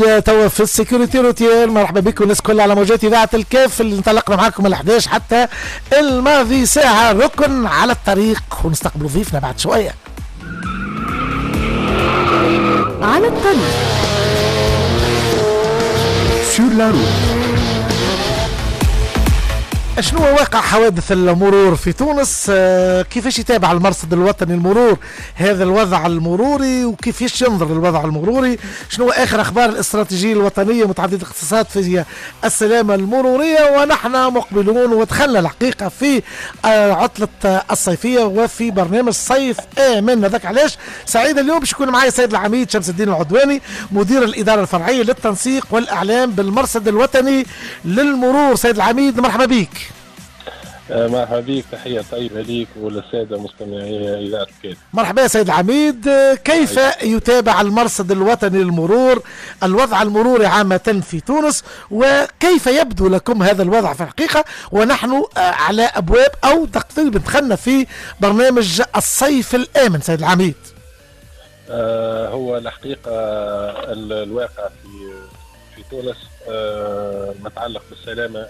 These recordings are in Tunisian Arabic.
توا في ال sécurité routière. مرحبا بكم الناس الكل على موجات اذاعة الكاف اللي انطلقنا معاكم ال 11 حتى الماضي ساعة، ركن على الطريق، ونستقبلوا ضيفنا بعد شوية. على الطريق sur la route. شنو واقع حوادث المرور في تونس؟ كيفاش يتابع المرصد الوطني المرور هذا الوضع المروري، وكيفاش ينظر للوضع المروري؟ شنو اخر اخبار الاستراتيجية الوطنية متعددة الاختصاصات في السلامة المرورية؟ ونحن مقبلون ودخلنا الحقيقة في عطله الصيفية وفي برنامج صيف امن. هذاك علاش سعيد اليوم باش يكون معي السيد العميد شمس الدين العدواني، مدير الادارة الفرعية للتنسيق والاعلام بالمرصد الوطني للمرور. سيد العميد مرحبا بك. مرحبا بك، تحية طيبة ليك وللسادة مستمعي إذاعة الكاف. مرحبا سيد العميد، كيف يتابع المرصد الوطني للمرور الوضع المروري عامة في تونس، وكيف يبدو لكم هذا الوضع في الحقيقة ونحن على أبواب أو تقريبا دخلنا في برنامج الصيف الآمن سيد العميد؟ هو الحقيقة الواقع في تونس متعلق بالسلامة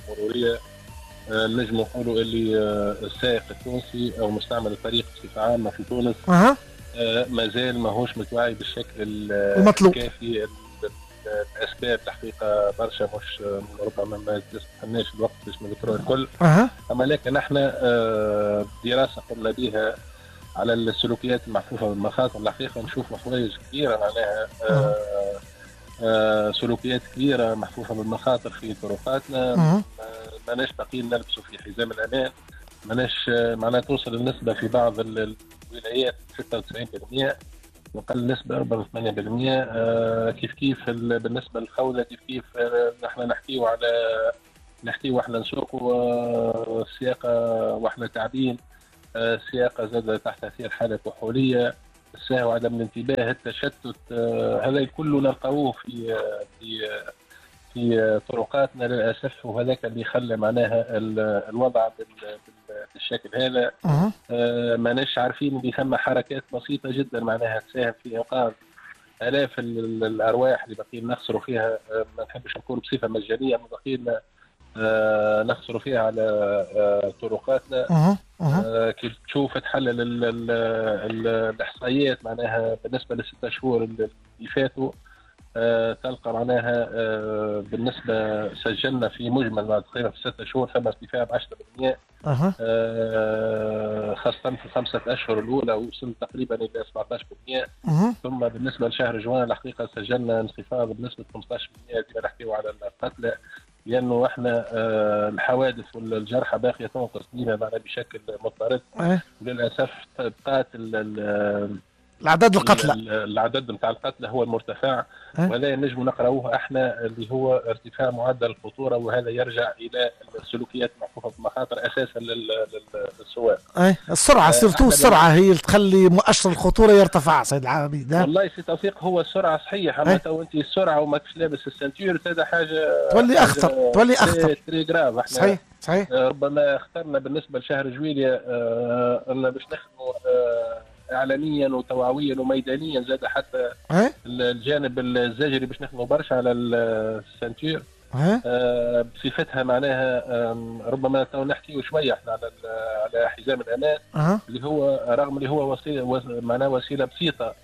المرورية، نجم نقولوا اللي السائق التونسي او مستعمل الطريق بصفة عامة في تونس مازال ماهوش متوعي بالشكل المطلوب الكافي. الاسباب الحقيقة برشا، مش ربما ما تستناش الوقت باش نذكروها الكل. اما لكن احنا دراسة قمنا بها على السلوكيات المحفوفه بالمخاطر، الحقيقة نشوفوا حوايج كبيرة معناها سلوكيات كبيرة محفوفة بالمخاطر في طرقاتنا. ماناش باقيين نلبسوا في حزام الامان، ماناش معناها توصل النسبة في بعض الولايات 96%، وقل نسبه 84%. كيف كيف بالنسبة للخوذه، كيف كيف نحن نحكيو على نحكيو واحنا نسوقوا السياقه واحنا تعبين، السياقه زاد تحت تاثير حاله كحوليه، السهو، عدم الانتباه، التشتت، هذا كله نلقاوه في في في طرقاتنا للاسف، وهذاك اللي خلى معناها الوضع بالشكل هذا. ماناش عارفين اللي ثم حركات بسيطة جدا معناها تساهم في انقاذ الاف الارواح اللي باقيين نخسروا فيها. ما نحبش نقول بصفة مجانية، ما باقيين نخسروا فيها على طرقاتنا. كي تشوف تحلل الاحصائيات معناها بالنسبة للستة شهور اللي فاتوا، تلقى معناها بالنسبة سجلنا في مجمل تقريبا في 6 شهور ثم ارتفاع ب 10%، خاصة في ال5 أشهر الأولى وصل تقريبا إلى 17%. ثم بالنسبة لشهر جوان الحقيقة سجلنا انخفاض بنسبة 15%. ديما نحكيو على القتلى، لأنه احنا الحوادث والجرحى باقية تنقص ديما معنا بشكل مضطرد. وللأسف بقات الأعداد القتلى، العدد نتاع القتلى هو المرتفع. وهذا نجم نقراوه احنا اللي هو ارتفاع معدل الخطورة، وهذا يرجع الى السلوكيات المحفوفه بالمخاطر اساسا للسواق. السرعة surtout السرعة هي اللي تخلي مؤشر الخطورة يرتفع سيد العميد. والله سي توفيق هو السرعة صحيح، اما تو انت السرعة وماكش لابس ال ceinture هذا حاجة تولي اخطر، تولي اخطر très grave. احنا صحيح صحيح. ربما اخترنا بالنسبة لشهر جويليا ان باش نخدموا اعلاميا وتوعويا وميدانيا، زاد حتى الجانب الزجري باش نخدموا برشا على ال ceinture بصفتها معناها. ربما تو نحكيو شوية احنا على حزام الامان اللي هو رغم اللي هو وسيلة معناها وسيلة بسيطة،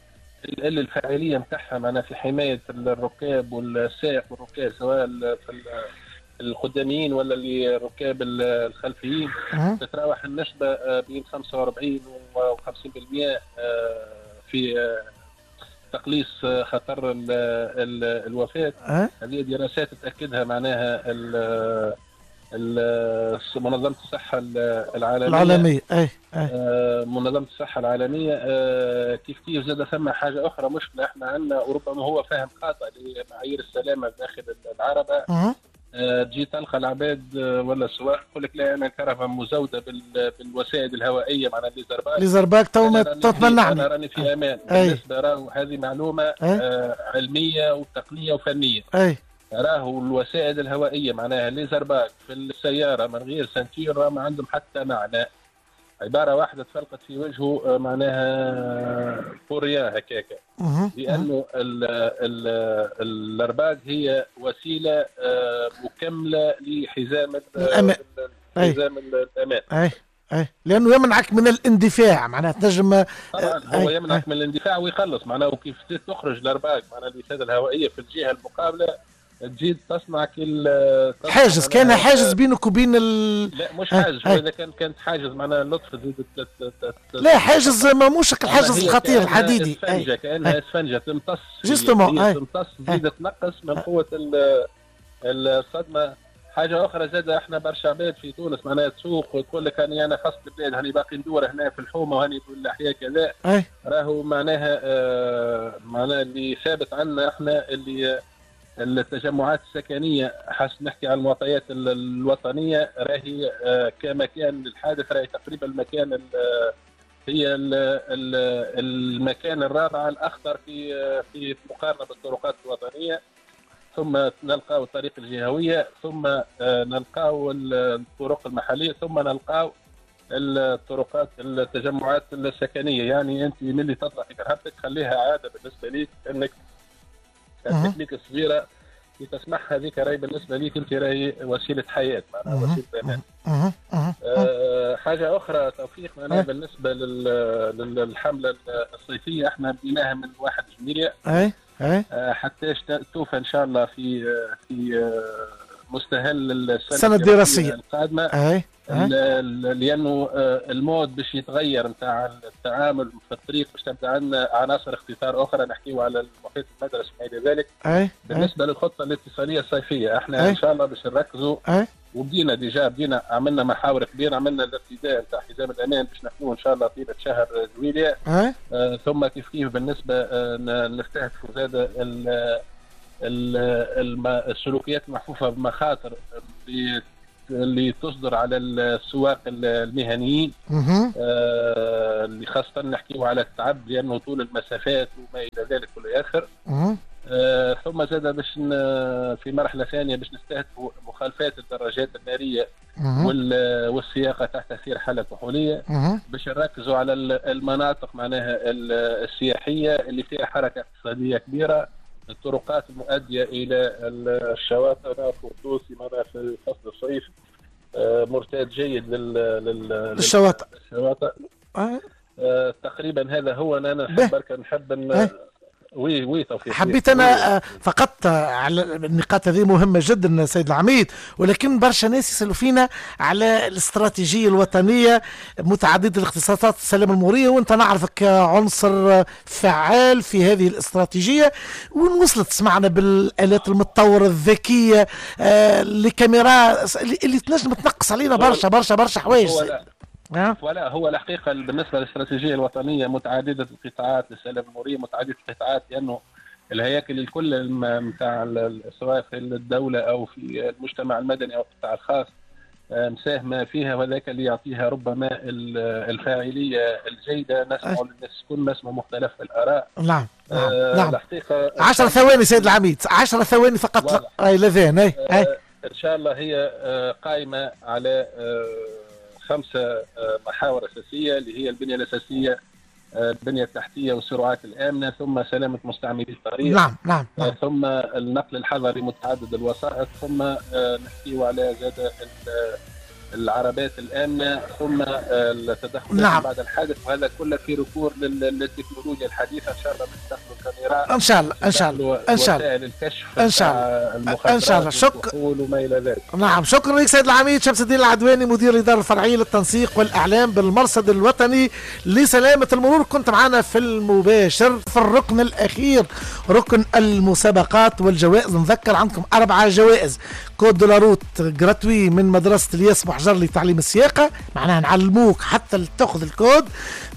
اللي الفاعلية نتاعها معناها في حماية الركاب والسائق والركاب سواء في القداميين ولا اللي الركاب الخلفيين، تتراوح النسبة بين 45 و 50% في تقليص خطر الوفاة. هذه دراسات تأكدها معناها منظمة الصحة العالمية. منظمة الصحة العالمية. كيف كيف زاد ثم حاجة أخرى مشكلة احنا عندنا، وربما هو فهم خاطئ لمعايير السلامة داخل العربة. تجي تلقى العباد ولا السواق يقول لك لا انا الكرهبه مزوده بالوسائد الهوائية معناها les airbags، les airbags تو ما تمنعني، انا راني في امان. بالنسبة راهو هذه معلومة علمية وتقنية وفنيه. راهو الوسائد الهوائية معناها les airbags في السيارة من غير ceinture ما عندهم حتى معنى. عبارة واحدة تفلقت في وجهه معناها pour rien هكاكا، لانه الارباج هي وسيلة مكملة لحزام الامان. حزام الامان. اي لانه يمنعك من الاندفاع، معناها تنجم طبعا هو يمنعك من الاندفاع ويخلص معناها. وكيف تخرج الارباج معناها الوساده الهوائية في الجهة المقابلة تزيد تصنع كل حاجز، كان حاجز بينك وبين لا مش حاجز، اذا كانت حاجز معناها اللطف تزيد لا حاجز ماهوش الحاجز الخطير الحديدي، اسفنجه كانها اسفنجه تمتص justement، تمتص تزيد تنقص من قوة الصدمة. حاجة اخرى زاد احنا برشا عباد في تونس معناها تسوق وتقول لك انا انا خاص البلاد، هاني باقي ندور هنا في الحومه وهاني في الاحياء كذا، راهو معناها معناها اللي ثابت عندنا احنا اللي التجمعات السكنية، حسب نحكي على المعطيات الوطنية، راهي كمكان للحادث راهي تقريبا المكان هي المكان الرابع الاخطر في مقارنة بالطرقات الوطنية، ثم نلقاو الطريق الجهوية، ثم نلقاو الطرق المحلية، ثم نلقاو الطرقات التجمعات السكنية. يعني انت ملي تطلع في كرهبتك خليها عادة بالنسبة ليك انك التكنيك الصغيرة اللي تسمعها هذيك راهي بالنسبة ليك انت راهي وسيلة حياة، معناها وسيلة امان. حاجة اخرى توفيق معناها بالنسبة للحملة الصيفية احنا بديناها من 1 جويلية حتى توفى ان شاء الله في مستهل السنة الدراسية القادمة. لانه ال mode باش يتغير نتاع التعامل في الطريق، باش تبدا عندنا عناصر اختطار اخرى، نحكيو على المحيط المدرسي وما الى ذلك. بالنسبة للخطه الاتصاليه الصيفية احنا ان شاء الله باش نركزوا، وبدينا déjà بدينا عملنا محاور كبيرة، عملنا الارتداء نتاع حزام الامان باش نحكوه ان شاء الله طيلة شهر جويلية. ثم كيف كيف بالنسبة نستهدفوا زاد السلوكيات المحفوفه بمخاطر اللي تصدر على السواق المهنيين، اللي خاصة نحكيو على التعب لأنه طول المسافات وما إلى ذلك والآخر. ثم زاد باش في مرحلة ثانية باش نستهدفوا مخالفات الدراجات النارية والسياقة تحت تأثير حالة كحولية، باش نركزوا على المناطق معناها السياحية اللي فيها حركة اقتصادية كبيرة، الطرقات المؤدية إلى الشواطئ. نعرفوا التونسي معناها في فصل الصيف مرتاد جيد للشواطئ. تقريبا هذا هو. أنا نحب نحب oui توفيق. حبيت انا فقط على النقاط هذه مهمة جدا سيد العميد، ولكن برشا ناس يسالوا فينا على الاستراتيجية الوطنية متعددة الاختصاصات السلامة المرورية، وانت نعرفك عنصر فعال في هذه الاستراتيجية. وين وصلت؟ سمعنا بالالات المتطورة الذكية، الكاميرا اللي تنجم تنقص علينا برشا برشا برشا حوايج. ولا هو الحقيقة بالنسبة للاستراتيجية الوطنية متعددة القطاعات للسلامة المرورية، متعددة القطاعات لانه الهياكل الكل نتاع سواء في الدولة او في المجتمع المدني او القطاع الخاص مساهمة فيها، وذاك اللي يعطيها ربما الفاعلية الجيدة. نسمع للناس الكل، نسمع مختلف الاراء. نعم نعم. الحقيقة 10 ثواني سيد العميد، 10 ثواني فقط. اي لذين اي ان شاء الله هي قائمة على 5 محاور أساسية اللي هي البنية الأساسية، البنية التحتية والسرعات الآمنة، ثم سلامة مستعملي الطريق. نعم نعم, نعم. ثم النقل الحضري متعدد الوسائط، ثم نحكيو على زاد العربات الآمنة، ثم التدخل نعم. بعد الحادث، وهذا كله في recours للتكنولوجيا الحديثة. إن شاء الله بنستخدم الكاميرا، إن شاء الله إن شاء الله إن شاء الله وسائل الكشف، إن شاء الله إن شاء الله. شكرا وما إلى ذلك. نعم شكرا لك سيد العميد شمس الدين العدواني، مدير الإدارة الفرعية للتنسيق والإعلام بالمرصد الوطني لسلامة المرور، كنت معنا في المباشر في الركن الأخير، ركن المسابقات والجوائز. نذكر عندكم 4 جوائز: code de la route gratuit من مدرسة الياس بوحجر لتعليم السياقة، معناها نعلموك حتى تاخذ الكود.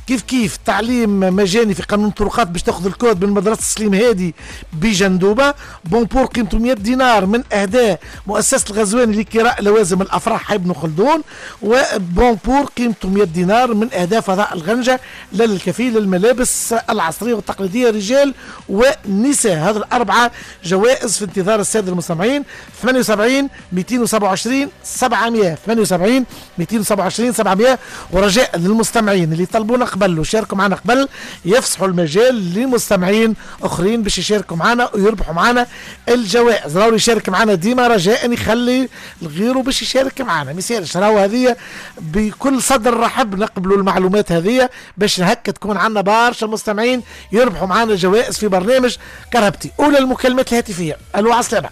كيف كيف تعليم مجاني في قانون الطرقات باش تاخذ الكود من مدرسة سليم هادي بجندوبة. bon pour قيمته 100 دينار من أهداء مؤسسة الغزواني لكراء لوازم الأفراح ابن خلدون. و bon pour قيمته 100 دينار من أهداء فضاء الغنجة للكفيل للملابس العصرية والتقليدية رجال ونساء. هذه ال4 جوائز في انتظار السادة المستمعين. 78 227 700 78 072 227 700. ورجاء للمستمعين اللي طلبونا قبل وشاركوا معنا قبل يفسحوا المجال لمستمعين اخرين باش يشاركوا معنا ويربحوا معنا الجوائز. راهو يشارك معنا ديما رجاء يخلي غيره باش يشارك معنا، ما يسالش، راهو هذه بكل صدر رحب نقبلوا المعلومات هذه باش هكا تكون عندنا برشا مستمعين يربحوا معنا جوائز في برنامج كرهبتي. اولى المكالمات الهاتفية. الو عسلامة.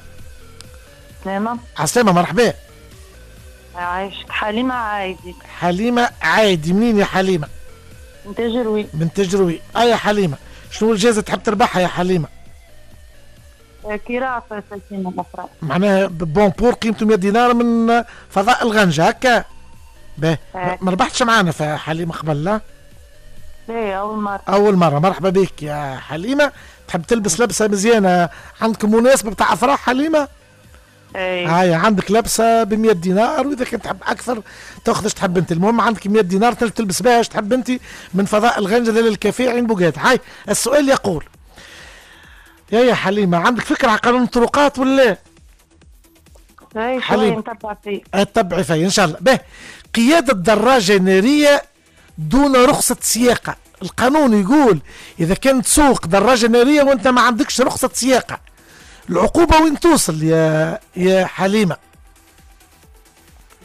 سلامة. عسلامة، مرحبا. عايشك. حليمة عايدي. حليمة عايدي، منين يا حليمة؟ من تجروي. من تجروي. يا حليمة، شنو الجائزة تحب تربحها يا حليمة؟ كراء فساتين الأفراح. معناها bon pour قيمته 100 دينار من فضاء الغنجة هكا. باهي، ما ربحتش معانا في حليمة قبل لا؟ لا، أول مرة. أول مرة، مرحبا بك يا حليمة. تحب تلبس لبسة مزيانة، عندكم مناسبة بتاع أفراح حليمة؟ اي. هاي عندك لبسة ب 100 دينار، وإذا كنت تحب أكثر تاخذ اش تحب أنت، المهم عندك 100 دينار تلبس بها اش تحب أنت من فضاء الغنجة للكافيه عين بوغات. هاي السؤال يقول يا حليمة، عندك فكرة على قانون الطرقات ولا؟ اي حليمة نتبع فيه. تتبعي فيه إن شاء الله. به، قيادة دراجة نارية دون رخصة سياقة، القانون يقول إذا كنت تسوق دراجة نارية وأنت ما عندكش رخصة سياقة، العقوبة وين توصل يا حليمة؟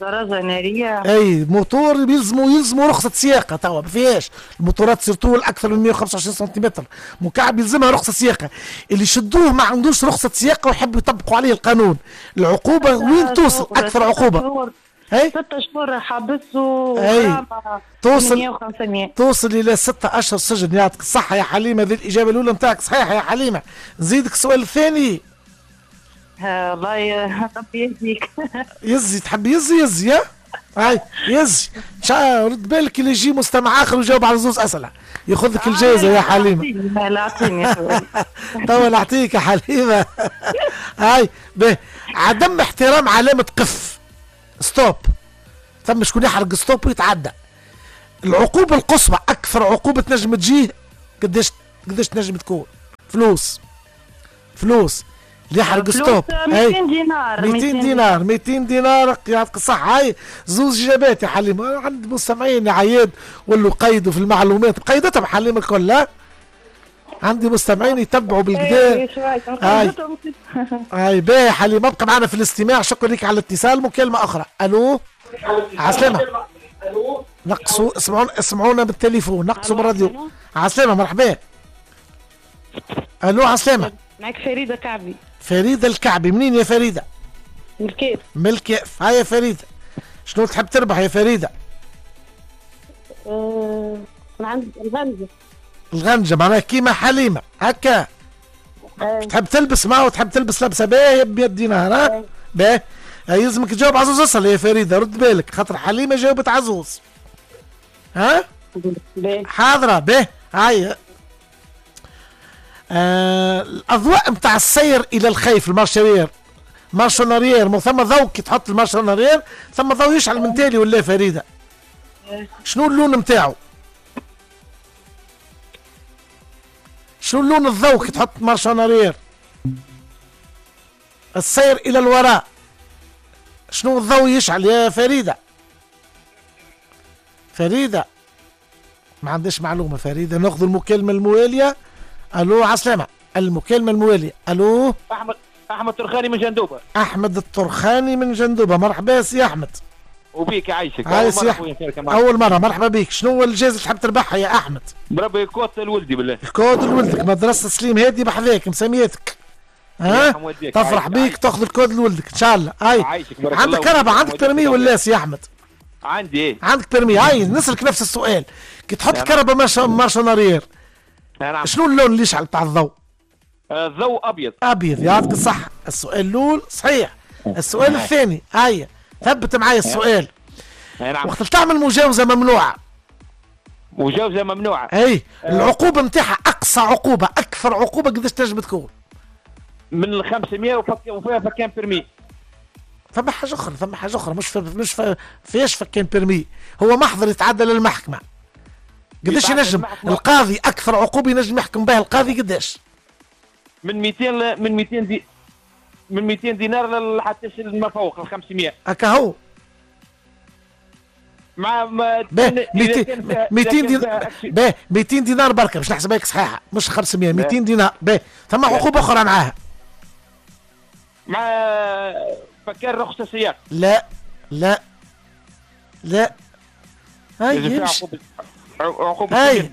دراجة نارية؟ اي موتور يلزموا رخصة سياقة، توا ما فيهاش، الموتورات surtout الأكثر من 125 سنتيمتر مكعب يلزمها رخصة سياقة، اللي شدوه ما عندوش رخصة سياقة ويحبوا يطبقوا عليه القانون، العقوبة وين توصل؟ أكثر عقوبة؟ اي 6 شهور حبس و توصل الى 6 اشهر سجن. يعطيك الصحة يا حليمة، هذه الإجابة الأولى نتاعك صحيحة يا حليمة. نزيدك السؤال الثاني. الله ربي يهديك. يزي، تحب يزي يزي يا هاي يزي، رد بالك اللي يجي مستمع اخر ويجاوب على زوز اسئلة ياخذ لك الجائزة يا حليمة. لا اعطيني توا نعطيك يا حليمة. هاي به، عدم احترام علامة قف stop، ثم شكون يحرق stop ويتعدى، العقوبة القصوى اكثر عقوبه تنجم تجيه قداش تنجم تكون؟ فلوس. فلوس اللي يحرق stop 200 دينار. 200 دينار، 200 دينار. يعطيك الصحة. هاي زوز إجابات يا حليمة. عند مستمعين يا عياد ولوا قيدوا في المعلومات، قيدتهم حليمة الكل. لا عندي مستمعين يتبعوا بالكدا. هاي هاي باهي حليمة، ابقى معنا في الاستماع. شكرا لك على الاتصال. مكالمة أخرى. ألو عسلامة. نقصوا، اسمعونا بالتليفون، نقصوا بالراديو. عسلامة، مرحبا. ألو عسلامة. معك فريدة كعبي. فريدة الكعبي، منين يا فريدة؟ من الكيف. من الكيف. هاي يا فريدة، شنو تحب تربح يا فريدة؟ من عند الغنجة. الغنجة معناها كيما حليمة هكا. تحب تلبس معه وتحب تلبس لبسة باهية ب 100 دينار. ها؟ باهي، يلزمك تجاوب عزوز اصل يا فريدة، رد بالك خاطر حليمة جاوبت عزوز. ها؟ باهي. حاضرة. باهي. هاي الاضواء نتاع السير الى الخيف، ال marche arrière، marche en arrière، ثم ضوء كي تحط ال marche en arrière ثم ضوء يشعل من تالي ولا فريدة؟ شنو اللون نتاعو؟ شنو اللون الضوء كي تحط marche en arrière؟ السير الى الوراء، شنو الضوء يشعل يا فريدة؟ فريدة ما عنديش معلومة فريدة. ناخذ المكالمة الموالية. الو عسلامة. المكالمة الموالية. الو احمد الترخاني من جندوبة. احمد الترخاني من جندوبة، مرحبا سي احمد. وبيك يعيشك. اول مرة، مرحبا بيك. شنو هو الجائزة اللي تحب تربحها يا احمد؟ بربي كود لولدي بالله. الكود لولدك، مدرسة سليم هادي بحذاك مسميتك. ها؟ تفرح بيك تاخذ الكود لولدك ان شاء الله. هاي عندك كرهبة، عندك permis ولا سي احمد؟ عندي. ايه عندك permis. هاي نسألك نفس السؤال، كي تحط الكرهبة marche en arrière، شنو اللون اللي يشعل تاع الضوء؟ الضوء ابيض. ابيض، يعطيك الصحة. السؤال الاول صحيح. السؤال الثاني، هيا ثبت معايا السؤال. نعم. وقت تعمل مجاوزة ممنوعة. مجاوزة ممنوعة. اي العقوبة نتاعها اقصى عقوبة، اكثر عقوبة قداش تنجم تكون؟ من 500 وفيها فكان permis. ثم حاجة أخرى، ثم حاجة أخرى مش فيش فكان permis، هو محضر يتعدى للمحكمة. قداش ينجم القاضي أكثر عقوبة ينجم يحكم بها القاضي قداش؟ من 200 من 200 من 200 دينار لحتى ما فوق ال 500. هكا هو. مع 200 دينار. باهي 200 دينار بركة باش نحسبها لك صحيحه، مش 500، 200 دينار. باهي ثم عقوبه اخرى معاها. مع فكان رخصه سياق. لا لا لا، هاي عقوبه هاي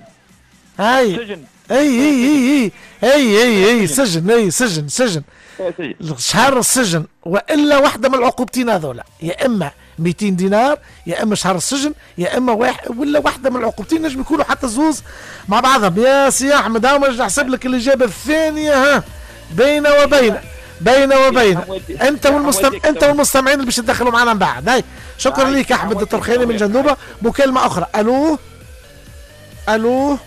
هاي سجن. اي اي اي اي اي اي سجن، اي سجن سجن شهر السجن، والا واحدة من العقوبتين هذولا، يا اما 200 دينار يا اما شهر السجن يا اما واحد ولا واحدة من العقوبتين، نجم يكونوا حتى زوز مع بعضهم. يا سي احمد هاو باش نحسب لك الاجابة الثانية. ها بين وبين بين وبين انت انت والمستمعين اللي باش يتدخلوا معنا من بعد. هاي شكرا لك احمد الترخيني من جندوبه. مكالمة اخرى. الو الو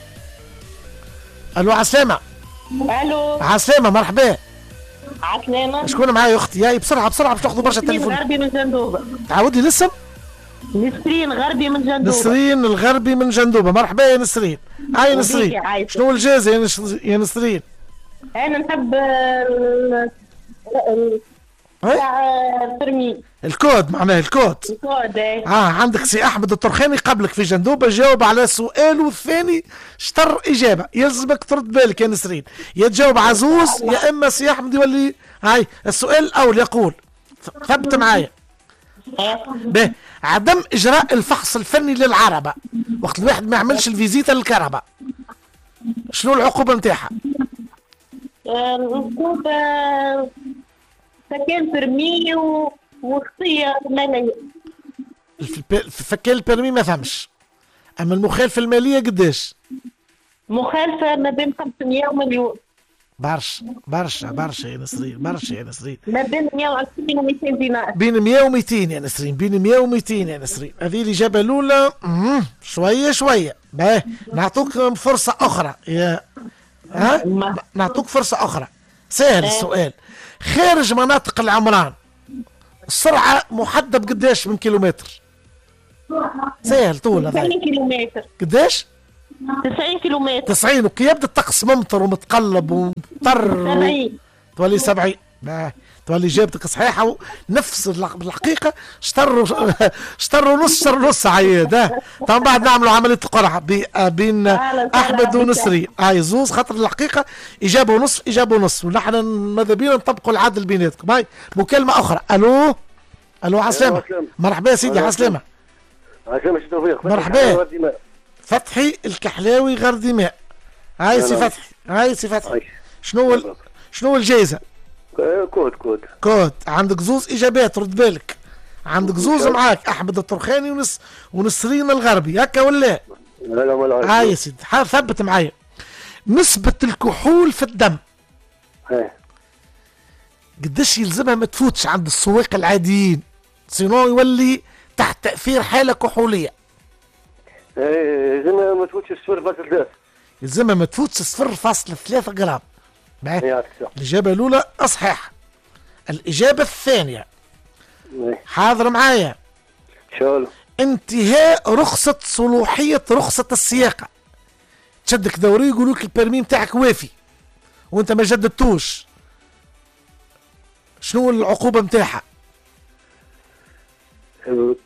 الو، عسلامة. الو عسلامة، مرحبا. عسلامة، شكون معايا يا اختي؟ ياي بسرعة بسرعة باش تاخذوا برشا تليفون. غربي من جندوبة. تعاود لي الاسم؟ نسرين غربي من جندوبة. نسرين الغربي من جندوبة، مرحبا يا نسرين. هاي نسرين، شنو الجائزة يا نسرين؟ أنا نحب تاع permis. ال code معناه ال code. ال code ايه. عندك سي احمد الطرخاني قبلك في جندوبه، جاوب على سؤاله الثاني شطر اجابه، يلزمك ترد بالك يا نسرين، يا تجاوب عزوز يا اما سي احمد يولي. هاي السؤال الاول يقول، ثبت معايا. به عدم اجراء الفحص الفني للعربه وقت الواحد ما يعملش ال visite للكرهبة، شنو العقوبة نتاعها؟ العقوبة فكان permis وخطيه ماليه. فكان ال permis ما فهمش، اما المخالفة المالية قداش؟ مخالفة ما بين 500 ومليون. برشا برشا برشا يا نسرين، برشا يا نسرين. ما بين 120 و 200 دينار. بين 100 و 200 يا نسرين، بين 100 و 200 يا نسرين. هذه الاجابة الاولى. شوية شوية. باهي نعطوك فرصة اخرى يا ها؟ نعطوك فرصة اخرى. سهل السؤال. خارج مناطق العمران السرعة محددة بقداش من كيلومتر؟ سهل طول هذا. 90 كيلومتر. قداش؟ 90 كيلومتر. 90. وكي يبدا الطقس ممطر ومتقلب ومطر 70 تولي 70. تولي اجابتك صحيحه ونفس الحقيقة. شطر ونص، شطر ونص عياد. طبعا بعد نعملوا عملية القرعة بين احمد ونسرين. هاي زوز خاطر الحقيقة اجابه ونص اجابه ونص، ونحن ماذا بينا نطبقوا العدل بيناتكم. هاي مكالمة اخرى. الو الو، عسلامة. مرحبا يا سيدي، عسلامة. عسلامة سي توفيق. مرحبا. فتحي الكحلاوي غردماء. هاي سي فتحي، هاي سي فتحي. شنو الجائزة؟ code code code. عندك زوز اجابات، رد بالك. عندك زوز معاك، احمد الطرخاني ونسرين الغربي، هكا ولا؟ لا لا ولا. هاي يا سيدي، ثبت معايا. نسبة الكحول في الدم قداش يلزمها ما تفوتش عند السواق العاديين، sinon يولي تحت تأثير حالة كحولية. يلزمها ما تفوتش 0.3. يلزمها ما تفوتش 0.3 جرام. الإجابة الأولى صحيحة. الإجابة الثانية حاضر معايا. شو انتهاء رخصة صلاحية رخصة السياقة، تشدك دوري يقولوا لك ال permis نتاعك وافي وانت ما جددتوش، شنو العقوبة نتاعها؟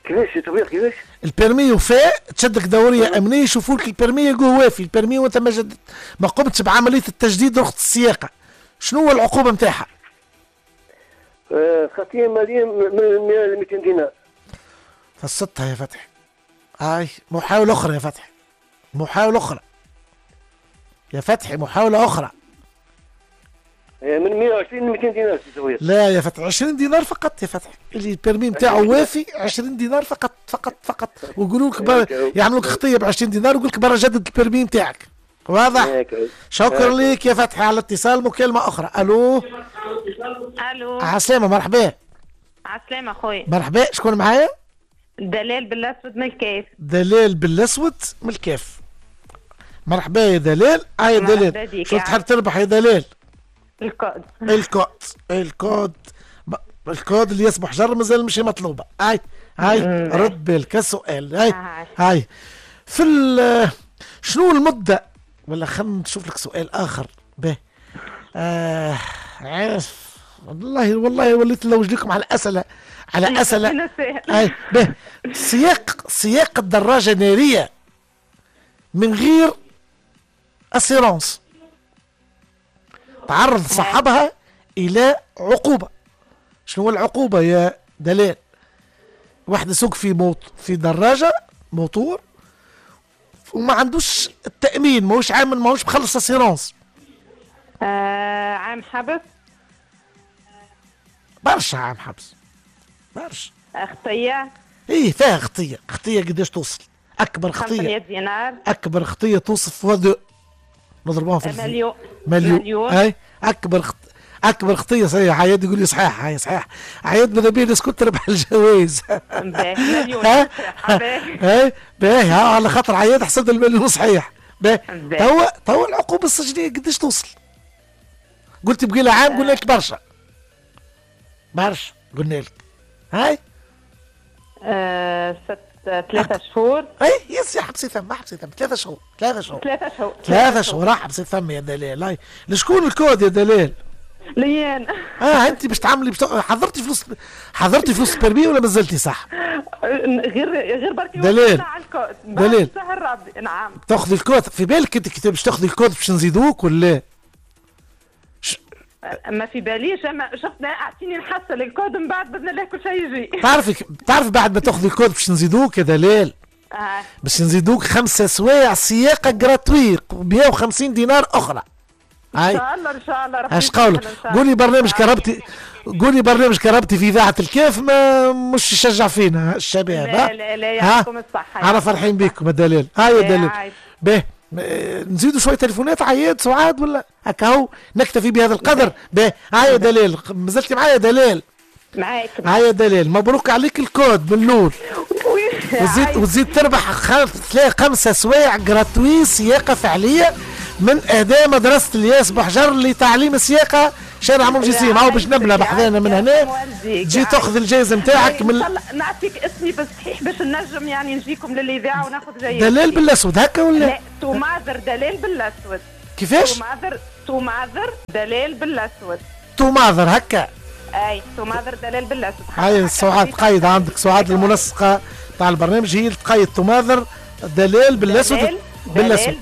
كيفاش توفيق كيفاش؟ ال permis وفاء، تشدك دورية امنية يشوفوا لك ال permis يقولوا وافي ال permis وانت ما جددت، ما قمتش بعملية التجديد رخصه السياقه، شنو هو العقوبة نتاعها؟ خطيه ماليه من 100 ل 200 دينار. فصدتها يا فتحي. هاي محاولة اخرى يا فتحي، محاولة اخرى يا فتحي، محاولة اخرى. من 120 ل 200 دينار. لا يا فتحي، 20 دينار فقط يا فتحي. اللي ال permis نتاعو وافي 20 دينار فقط فقط فقط، ويقولوا لك يعملوا لك خطيه ب 20 دينار ويقول لك برا جدد ال permis نتاعك. واضح؟ شكرا لك يا فتحي على الاتصال. مكالمة أخرى. ألو ألو، عسلامة. مرحبا. عسلامة خويا. مرحبا، شكون معايا؟ دلال بالأسود من الكاف. دلال بالأسود من الكاف. مرحبا يا دلال. هاي يا دلال، شو تحب تربح يا دلال؟ ال code. ال code ال code ال code اللي يصبح جر مازال مش مطلوبة. هاي هاي رد بالك السؤال. هاي هاي في شنو المدة، ولا خلينا نشوف لك سؤال آخر. به عارف والله والله وليت نلوج لكم على اسئلة، على اسئلة. اي به، سياق الدراجة النارية من غير assurance تعرض صاحبها الى عقوبه. شنو هو العقوبة يا دلال؟ واحد يسوق في دراجة موتور وما عندوش التامين، ماهوش عامل، ماهوش مخلص assurance. عام حبس. برشا عام حبس، برشا. خطيه. ايه فيها خطيه، خطيه قداش توصل؟ اكبر خطيه 500 دينار. اكبر خطيه توصل fois deux، نضربوها في مليون. مليون. اي اكبر خطيه صحيح. عياد يقول لي صحيح، هاي صحيح عياد، ماذا بيا الناس كنت تربح الجوائز. مليون. اي باهي، على خاطر عياد حسب المليون صحيح. باهي توا العقوبة السجنيه قداش توصل؟ قلت بقي لها عام، قلنا لك برشا برشا، قلنا لك هاي 3 شهور. اي يس يا حبسي ثم، حبسي ثم 3 شهور. 3 شهور 3 شهور 3 شهور راح حبسي ثم يا دلال. هاي لشكون الكود يا دلال؟ ليان. انت باش تعملي حضرتي فلوس، حضرتي فلوس permis ولا مازلتي صح؟ غير بركي دلال. دلال نعم. تاخذي الكود في بالك انت باش تاخذي الكود باش نزيدوك ولا؟ ما في باليش، اما شفت اعطيني نحصل الكود من بعد باذن الله كل شيء يجي. تعرفي بعد ما تاخذي الكود باش نزيدوك يا دلال. باش نزيدوك 5 سوايع سياقه gratuit 150 دينار اخرى. ان شاء الله ان شاء الله. اش قولك؟ قولي برنامج كربتي، قولي برنامج كربتي في اذاعة الكاف ما مش يشجع فينا الشباب. لا لا لا يعطيكم الصحة، انا فرحين بكم يا دلال. هاي يا دلال. باهي نزيدوا شوية تليفونات عياد سعاد ولا هكا هو نكتفي بهذا القدر؟ باهي هاي يا دلال، مازلتي معايا يا دلال؟ معاك. هاي يا دلال، مبروك عليك الكود من الاول. وتزيد تربح 5 سوايع gratuit سياقه فعليه من اداء مدرسه الياس بحجر لتعليم السياقه شارع منجسيم. هاو باش نبلى بحذانا من هنا تجي تاخذ الجائزة نتاعك. من نعطيك اسمي بالصحيح باش نجم يعني نجيكم للاذاعة وناخذ جائزة. دلال بالاسود هكا ولا؟ لا، توماذر دلال بالاسود. كيفاش؟ توماذر دلال بالاسود. توماذر هكا؟ اي توماذر دلال بالاسود. هاي سعاد قايد عندك، سعاد المنسقه تاع البرنامج هي اللي تقيد توماذر دلال بالاسود. بالاسود.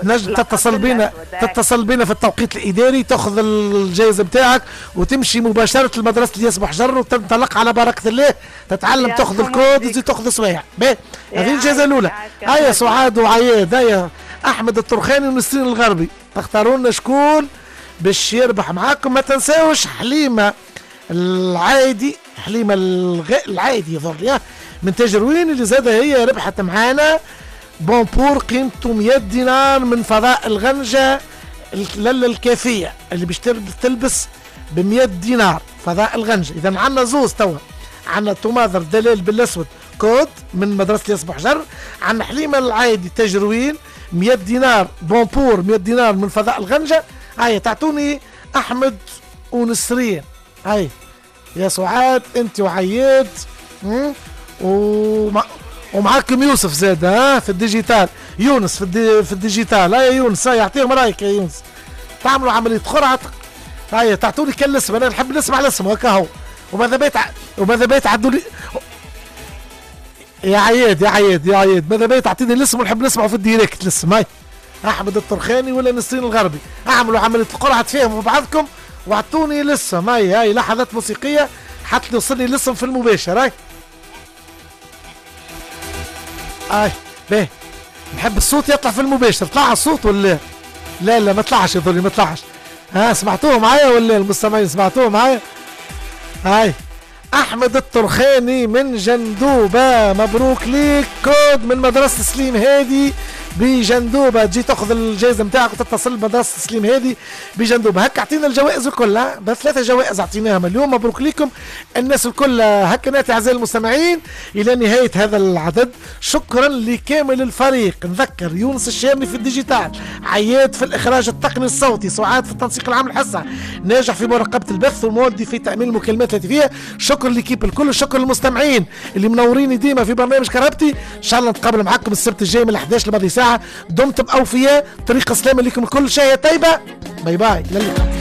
نجم تتصل بينا، تتصل بينا في التوقيت الاداري، تاخذ الجائزة نتاعك وتمشي مباشرة لمدرسة الياس بحجر وتنطلق على بركة الله، تتعلم تاخذ الكود وتزيد تاخذ سوايع. باهي هذه الجائزة الاولى. هيا سعاد وعياد، هيا احمد الطرخاني ونسرين الغربي، تختاروا لنا شكون باش يربح معاكم. ما تنساوش حليمة العايدي، حليمة العايدي يظهر من تاجروين اللي زادة هي ربحت معانا bon pour قيمته 100 دينار من فضاء الغنجة الكافية اللي باش تلبس ب 100 دينار فضاء الغنجة. إذا عندنا زوز توا، عندنا توماذر دلال بالأسود كود من مدرسة الياس بحجر، عندنا حليمة العايدي تجروين 100 دينار bon pour 100 دينار من فضاء الغنجة. هيا تعطوني أحمد ونسرين. هيا يا سعاد أنت وعياد ومعاكم يوسف زاد ها في ال digital، يونس في ال digital. هيا يونس، هيا يعطيهم رايك يا يونس. تعملوا عملية قرعة، هيا تعطوني كان الاسم، انا نحب نسمع الاسم هكا هو. وماذا بيا تعدوا لي يا عياد يا عياد يا عياد، ماذا بيا تعطيني الاسم ونحب نسمعه في ال direct الاسم. هاي احمد الطرخاني ولا نسرين الغربي، اعملوا عملية القرعة تفاهموا بعضكم واعطوني الاسم. هاي هاي لحظات موسيقية حتى يوصلني الاسم في المباشر. هاي اي باهي، نحب الصوت يطلع في المباشر. طلع الصوت ولا لا؟ لا ما طلعش يظل ما طلعش. ها سمعتوه معايا ولا المستمعين سمعتوه معايا؟ هاي احمد الطرخاني من جندوبه، مبروك ليك كود من مدرسه سليم هادي بجندوبه، تجي تاخذ الجائزة نتاعك وتتصل بمدرسة سليم هادي بجندوبه. هكا اعطينا الجوائز الكل، بس 3 جوائز اعطيناهم اليوم، مبروك لكم الناس الكل. هكا ناتي اعزائي المستمعين الى نهاية هذا العدد. شكرا لكامل الفريق، نذكر يونس الشامي في ال digital، عياد في الاخراج التقني الصوتي، سعاد في التنسيق العام الحصة، ناجح في مراقبة البث، ومودي في تامين المكالمات الهاتفية. شكرا l'équipe الكل، شكرا للمستمعين اللي منوريني ديما في برنامج كرهبتي. ان شاء الله نتقابل معاكم السبت الجاي من 11 لماضي ساعة. دمتم اوفياء، طريق سلامه لكم الكل، شهية طيبة، bye bye، للقاء.